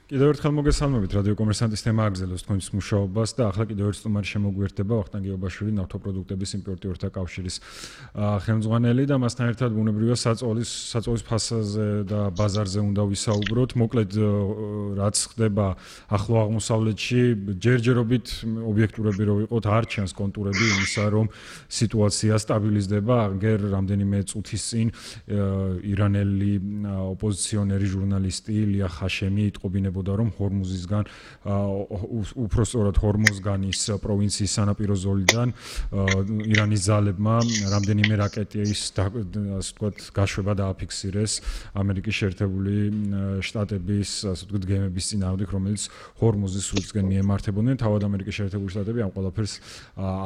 კიდევ ერთხელ მოგესალმებით რადიო კომერსანტის თემა აგრძელებს თქვენს მუშაობას და ახლა კიდევ ერთ სტუმარი შემოგვიერთდება ვახტანგ გიობაშვილი ნავთობპროდუქტების იმპორტიორთა კავშირის ხელმძღვანელი და მასთან ერთად ბუნებრივია საწოლის ფასაზე და ბაზარზე უნდა ვისაუბროთ. მოკლედ რაც ხდება ახლო აღმოსავლეთში ჯერჯერობით ობიექტურები რო ვიყოთ არ ჩანს კონტურები იმისა რომ სიტუაცია სტაბილიზდება. აგერ რამდენიმე წუთის წინ ირანელი ოპოზიციონერი ჟურნალისტი ილია ხაშემი იტყობინებოდა რომ ჰორმუზისგან უпростоრად ჰორმუზგანის პროვინციის სანაპირო ზოლიდან ირანის ძალებმა რამდენიმე რაკეტის ასე ვთქვათ გაშვება დააფიქსირეს ამერიკის შეერთებული შტატების ასე ვთქვათ გემების წინააღმდეგ რომელიც ჰორმუზის სრუტისკენ მიემართებოდნენ. თავად ამერიკის შეერთებული შტატები ამ ყველაფერს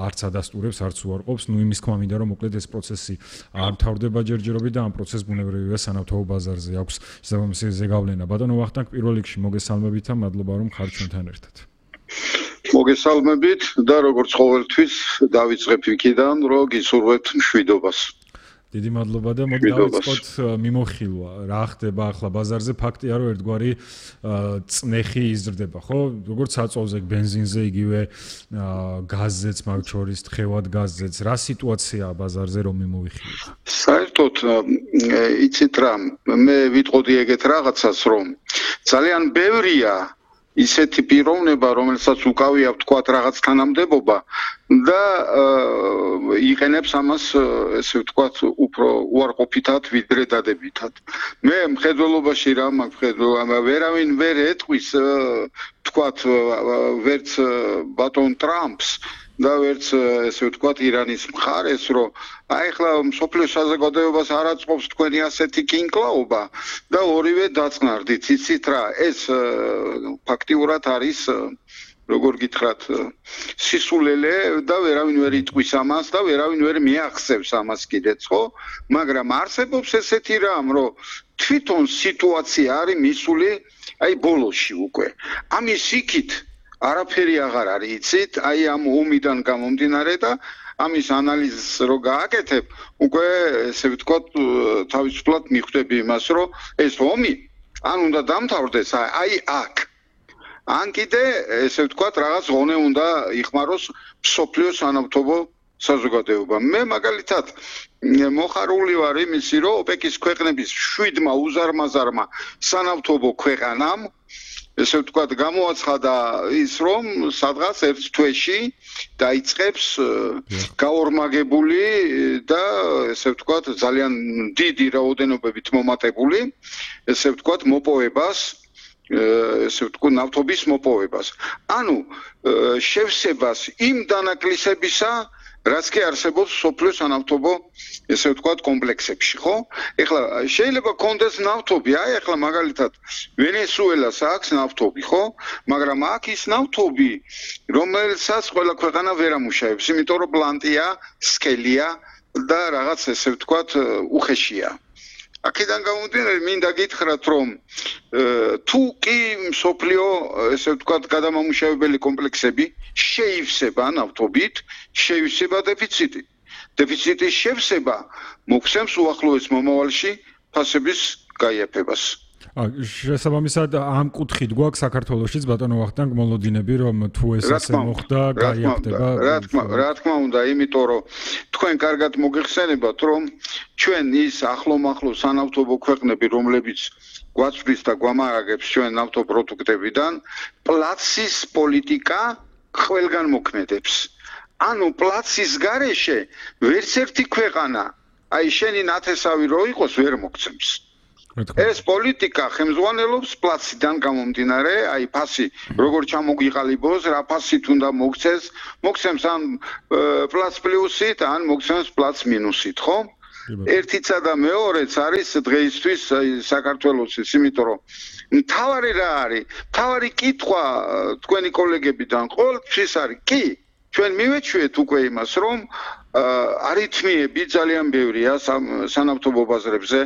არც ადასტურებს არც უარყოფს. ნუ იმის თქმა მინდა რომ მოკლედ ეს პროცესი არ მთავრდება ჯერჯერობით და ამ პროცესს ბუნებრივია სანავთობო ბაზარზე აქვს შესაბამისი ზეგავლენა. ბატონო ვახტანგ პირველ რიგში მოგესალმებით და მადლობა რომ ხართ ჩვენთან ერთად. მოგესალმებით და როგორც ყოველთვის დავიწყებ იქიდან რომ გისურვებთ მშვიდობას. დიდი მადლობა და მოდი დავიწყოთ მიმოხილვა. რა ხდება ახლა ბაზარზე? ფაქტია რომ ერთგვარი წნეხი იზრდება, ხო? როგორც საწოლზე, ბენზინზე, იგივე გაზზეც, მაგ შორის თხევად გაზზეც. რა სიტუაციაა ბაზარზე რომ მიმოვიხილოთ? საერთოდ იცით რა, მე ვიტყოდი ეგეთ რაღაცას რომ ძალიან ბევრია ისეთი პიროვნება, რომელსაც უკავია ვთქვათ რაღაც თანამდებობა და იყენებს ამას ესე ვთქვათ უფრო უარყოფითად ვიდრე დადებითად. მე მხედველობაში რა მაქვს ვერავინ ვერ ეტყვის ვთქვათ ვერც ბატონ ტრამპს და ვერც ესე ვთქვათ ირანის მხარეს რომ აი ახლა მსოფლიოს საზოგადოებას არ აწყობს თქვენი ასეთი კინკლაობა და ორივე დაწყნარდით. იცით რა, ეს ფაქტიურად არის როგორ გითხრათ სისულელე და ვერავინ ვერ იტყვის ამას და ვერავინ ვერ მიახსევს ამას კიდეც, ხო? მაგრამ არსებობს ესეთი რამ, რომ თვითონ სიტუაცია არის მისული აი ბოლოში უკვე. ამის იქით არაფერი აღარ არის, იცით? აი ამ ომიდან გამომდინარე და ამის ანალიზს რო გააკეთებ, უკვე ესე ვთქვათ თავისუფლად მიხვდები იმას, რომ ეს ომი ან უნდა დამთავრდეს აი აქ. ან კიდე ესე ვთქვათ რაღაც ღონე უნდა იხმაროს მსოფლიო სანავთობო საზოგადოება. მე მაგალითად მოხარული ვარ იმისი, რომ ოპეკის ქვეყნების 7-მა უზარმაზარმა სანავთობო ქვეყანამ ესე ვთქვათ გამოაცხადა ის რომ სადღაც ერთ თვეში დაიწყებს გაორმაგებული და ესე ვთქვათ ძალიან დიდი რაოდენობებით მომატებული ესე ვთქვათ მოპოვებას ესე ვთქვათ ნავთობის მოპოვებას. ანუ შევსებას იმ დანაკლისებისა რაც კი არსებობს სოფლიო სანავთობო ესე ვთქვათ კომპლექსებში, ხო? ეხლა შეიძლება კონდეს ნავთობი, აი ეხლა მაგალითად ვენესუელას აქვს ნავთობი, ხო? მაგრამ აქ ის ნავთობი, რომელსაც ყველა ქვეყანა ვერ ამუშავებს, იმიტომ რომ ბლანტია, სქელია და რაღაც ესე ვთქვათ უხეშია. აქედან გამომდინარე მინდა გითხრათ რომ თუ კი მსოფლიო ესე ვთქვათ გადამამუშავებელი კომპლექსები შეივსება ნავთობით, შეივსება დეფიციტი. დეფიციტის შევსება მოგცემს უახლოეს მომავალში ფასების გაიაფებას. შესაბამისად ამ კუთხით გვაქვს საქართველოშიც ბატონო ვახტანგ მოლოდინები რომ თუ ეს ასე მოხდა გაიაფდება. რა თქმა უნდა, იმიტომ რომ თქვენ კარგად მოგეხსენებათ რომ ჩვენ ის ახლომახლო სანავთობო ქვეყნები რომლებიც გვაწვდის და გვამარაგებს ჩვენ ნავთობპროდუქტებიდან პლაცის პოლიტიკა ყველგან მოქმედებს. ანუ პლაცის გარეშე ვერც ერთი ქვეყანა აი შენი ნათესავი რო იყოს ვერ მოგცემს. ეს პოლიტიკა ხელმძღვანელობს პლაციდან გამომდინარე, აი ფასი როგორ ჩამოგიყალიბოს, რა ფასით უნდა მოგცეს, მოგცემს ან პლაც პლუსით, ან მოგცემს პლაც მინუსით, ხო? ერთიცა და მეორეც არის დღეისთვის საქართველოსის, იმიტომ რომ მთავარი რა არის? მთავარი კითხვა თქვენი კოლეგებიდან ყოველთვის არის, კი, ჩვენ მივეჩვიეთ უკვე იმას, რომ არითმიები ძალიან ბევრია სანავთობო ბაზრებზე.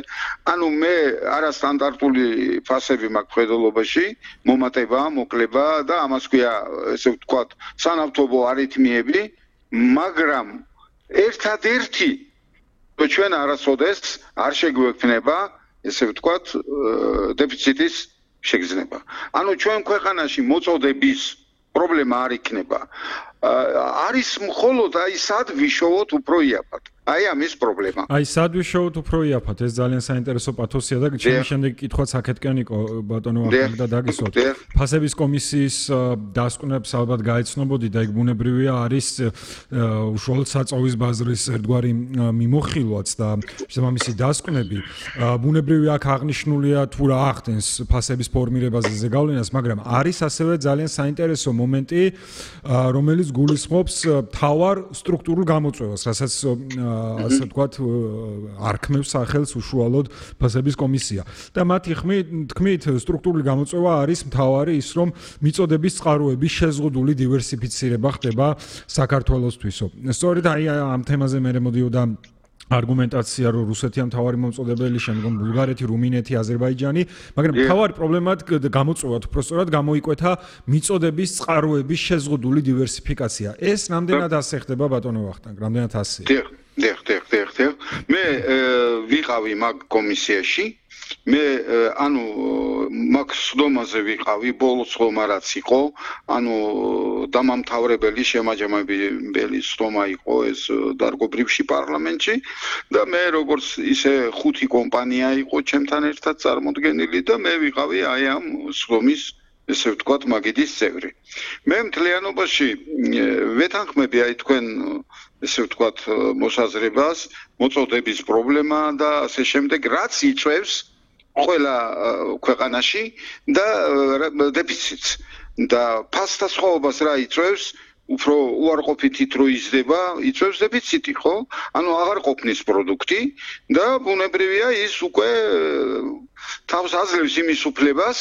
ანუ მე არასტანდარტული ფასები მაქვს მხედველობაში, მომატება, მოკლება და ამას ქვია, ესე ვთქვათ, სანავთობო არითმიები, მაგრამ ერთადერთი ჩვენ არასოდეს არ შეგვექნება, ესე ვთქვათ, დეფიციტის შეგრძნება. ანუ ჩვენ ქვეყანაში მოწოდების პრობლემა არ იქნება. არის მხოლოდ აი სად ვიშოვოთ უფრო იაფად. აი ამის პრობლემა. აი სად ვიშოვოთ უფრო იაფად, ეს ძალიან საინტერესო პათოსია და ჩემი შემდეგი კითხვაც აქეთკენ იყო ბატონო ახალი და დაგისვათ. ფასების კომისიის დასკვნებს ალბათ გაეცნობოდი და იქ ბუნებრივია არის უშუალოდ საწოვის ბაზრის ერთგვარი მიმოხილვაც და შესაბამისი დასკვნები. ბუნებრივია აქ აღნიშნულია თუ რა ახდენს ფასების ფორმირებაზე ზეგავლენას, მაგრამ არის ასევე ძალიან საინტერესო მომენტი, რომელიც გულისხმობს თავარ სტრუქტურულ გამოწვევას, რასაც ასე ვთქვათ, არქმევს სახელს უშუალოდ ფასების კომისია. და მათი თქმით, სტრუქტურული გამოწვევა არის მთავარი ის, რომ მიწოდების წყაროების შეზღუდული დივერსიფიცირება ხდება საქართველოსთვისო. სწორედ აი ამ თემაზე მე მოდიოდა არგუმენტაცია, რომ რუსეთია მთავარი მომწოდებელი, შემდგომ ბულგარეთი, რუმინეთი, აზერბაიჯანი, მაგრამ მთავარი პრობლემად გამოწვევად უბრალოდ გამოიკვეთა მიწოდების წყაროების შეზღუდული დივერსიფიკაცია. ეს რამდენად ასე ხდება ბატონო ვახტანგ, რამდენად ასე? დიახ. მე ვიყავი მაგ კომისიაში. მე ანუ მაგ სდომაზე ვიყავი, ბოლოს ხომა რაც იყო, ანუ დამამთავრებელი შემაჯამებელი სდომა იყო ეს დარგობრივში პარლამენტში და მე როგორც ისე 5 კომპანია იყო ჩემთან ერთად წარმოდგენილი და მე ვიყავი აი ამ სდომის ესე ვთქვათ მაგიდის წევრი. მე მთლიანობაში ვეთანხმები აი თქვენ ესე ვთქვათ მოსაზრებას, მოწოდების პრობლემა და ასე შემდეგ, რაც იწვევს ყველა ქვეყანაში და დეფიციტს და ფასთა სხვაობას რა იწვევს, უფრო უარყოფითით რო იზრდება, იწვევს დეფიციტი, ხო? ანუ აღარ ყოფნის პროდუქტი და ბუნებრივია ის უკვე თავს აძლევს იმის უფლებას,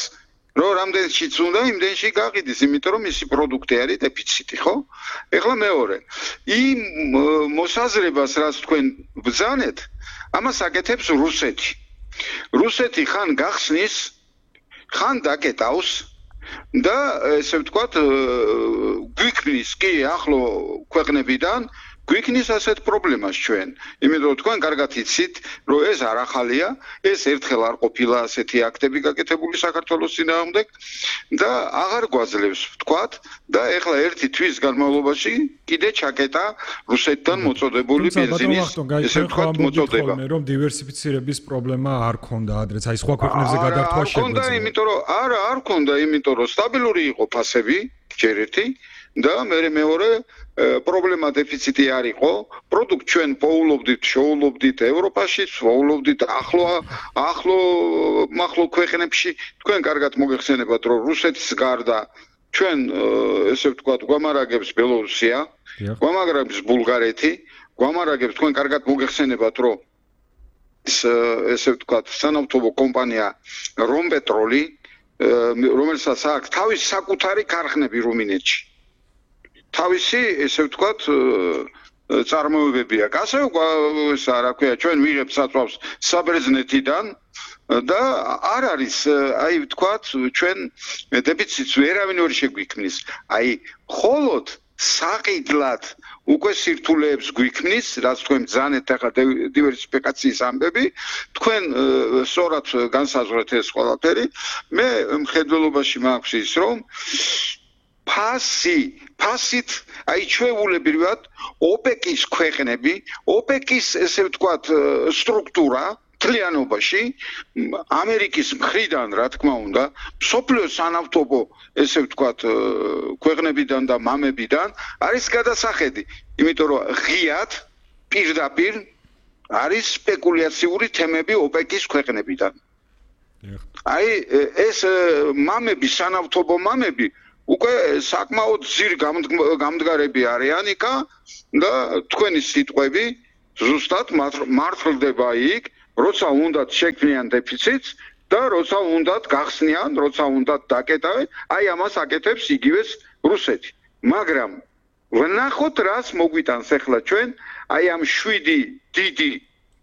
რომ რამდენშიც უნდა იმდენში გაყიდეს, იმიტომ რომ მისი პროდუქტი არის დეფიციტი, ხო? ეხლა მეორე. იმ მოსაზრებას, რაც თქვენ ბრძანეთ, ამას აკეთებს რუსეთი. რუსეთი ხან გახსნის, ხან დაკეტავს და ესე ვთქვათ, გვიქმნის კი ახლო ქვეყნებიდან გვიქნის ასეთ პრობლემას ჩვენ. იმიტომ რომ თქვენ კარგად იცით, რომ ეს არ ახალია, ეს ერთხელ არ ყოფილა ასეთი აქტები გაკეთებული საქართველოს წინააღმდეგ და აღარ გვაძლევს ვთქვათ და ეხლა ერთი თვის განმავლობაში კიდე ჩაკეტა რუსეთთან მოწოდებული ბენზინის ესე ვთქვათ მოწოდება. რომ დივერსიფიცირების პრობლემა არ ქონდა ადრეც, აი სხვა ქვეყნებზე გადართვა შეგვეძლო. არ ქონდა, იმიტომ რომ არ ქონდა, იმიტომ რომ სტაბილური იყო ფასები, ჯერ ერთი და მეორე პრობლემა დეფიციტი არ იყო, პროდუქტ ჩვენ შოულობდით ევროპაში, შოულობდით ახლო ქვეყნებში. თქვენ კარგად მოგეხსენებათ, რომ რუსეთის გარდა ჩვენ ესე ვთქვათ, გვამარაგებს ბელორუსია, გვამარაგებს ბულგარეთი, გვამარაგებს თქვენ კარგად მოგეხსენებათ, რომ ესე ვთქვათ, სანავთობო კომპანია რომპეტროლი, რომელსაც აქვს თავისი საკუთარი ქარხნები რუმინეთში. თავისი ესე ვთქვათ წარმოებები აქვს. ასე ესა რა ქვია, ჩვენ ვიღებთ საწვავს საბრეზნეთიდან და არ არის აი ვთქვათ ჩვენ დეფიციტს ვერავინ ვერ შეგვიქმნის. აი ხოლოდ საყიდლად უკვე სირთულეებს გვიქმნის, რაც თქვენ ბრძანეთ ახლა დივერსიფიკაციის ამბები, თქვენ სწორად განსაზღვრეთ ეს ყველაფერი. მე მხედველობაში მაქვს ის, რომ ფასით აი ჩვეულებრივად ოპეკის ქვეყნები, ოპეკის ესე ვთქვათ სტრუქტურა მთლიანობაში ამერიკის მხრიდან რა თქმა უნდა, მსოფლიოს სანავთობო ესე ვთქვათ ქვეყნებიდან და მამებიდან არის გადასახედი, იმიტომ რომ ღიად პირდაპირ არის სპეკულაციური თემები ოპეკის ქვეყნებიდან. აი ეს მამები, სანავთობო მამები უკვე საკმაოდ ძირ გამდგარები არიან იქა და თქვენი სიტყვები ზუსტად მართლდება იქ, როცა უნდათ შექმნიან დეფიციტს და როცა უნდათ გახსნიან, როცა უნდათ დაკეტავენ, აი ამას აკეთებს იგივეს რუსეთი. მაგრამ ვნახოთ რას მოგვიტანს ახლა ჩვენ, აი ამ 7 დიდი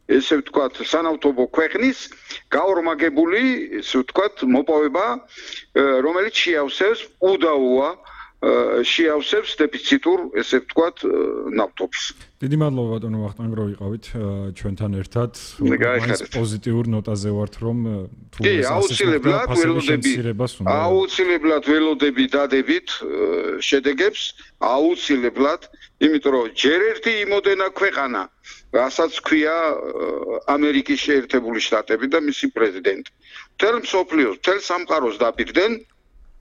ესე ვთქვათ, სანავთობო ქვეყნის გაორმაგებული, ესე ვთქვათ, მოპოვება, რომელიც შეავსებს უდაოა შეავსებს დეფიციტურ, ესე ვთქვათ, ნავთობს. დიდი მადლობა ბატონო ვახტანგ რომ იყავით ჩვენთან ერთად. პოზიტიურ ნოტაზე ვართ რომ თუ აუცილებლად ველოდები დადებით შედეგებს, აუცილებლად, იმიტომ რომ ჯერ ერთი იმოდენა ქვეყანა, რასაც ქვია ამერიკის შეერთებული შტატები და მისი პრეზიდენტი. მთელ მსოფლიოს, მთელ სამყაროს დაპირდნენ,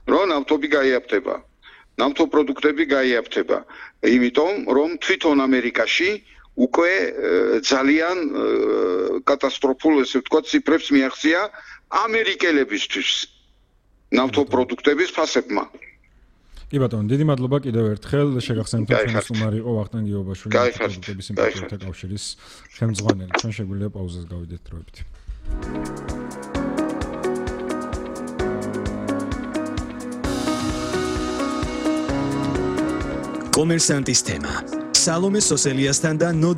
რომ ნავთობი გაიაფთება. ნავთობპროდუქტები გაიაფთება. იმიტომ რომ თვითონ ამერიკაში უკვე ძალიან კატასტროფულ, ესე ვთქვათ, ციფრებს მიაღწია ამერიკელებისთვის ნავთობპროდუქტების ფასებმა. კი ბატონო, დიდი მადლობა კიდევ ერთხელ. შეგახსენებთ ჩვენი სტუმარი იყო ვახტანგ გიობაშვილი, ნავთობპროდუქტების იმპორტერთა კავშირის ხელმძღვანელი. ჩვენ შეგვიძლია პაუზას გავიდეთ დროებით. კომერსანტის თემა. სალომე სოსელიასთან და ნოდარ